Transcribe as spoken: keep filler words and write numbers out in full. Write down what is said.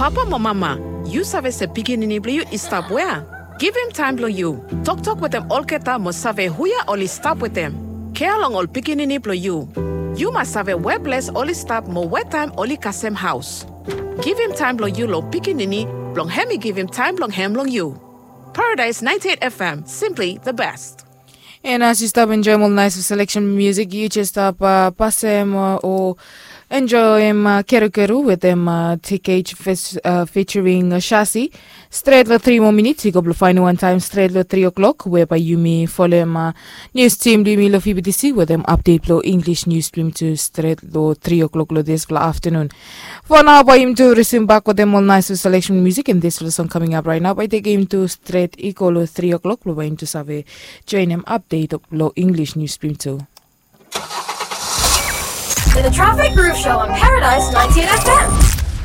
Papa mo mama, yu save se pikinini blong yu i stap wea? Givim taem blong yu. Toktok wetem olgeta mo save hua oli stap wetem. Kea long ol pikinini blong yu. Yu mas save we ples oli stap mo we taem oli kasem haos. Givim taem blong yu long pikinini blong hem i givim taem blong hem long yu. Paradise ninety-eight F M, simply the best. And as you stop enjoying all nice selection music, you just stop uh, pasem uh, or enjoying uh, Keru Keru with them uh, T K H fes- uh, featuring uh, Shasi. Stret lo three more minutes, you go to find one time stret lo three o'clock, whereby you may follow him uh, news team blong yumi lo F B T C with them update lo English news blong yumi tu stret lo three o'clock lo this lo afternoon. For now, bae yumi tu resume back with them all nice selection music and this lo song coming up right now. Bae takem yumi tu stret i go lo three o'clock lo bae yumi tu save join him update lo English news blong yumi tu. The Traffic Groove Show on Paradise ninety-eight F M.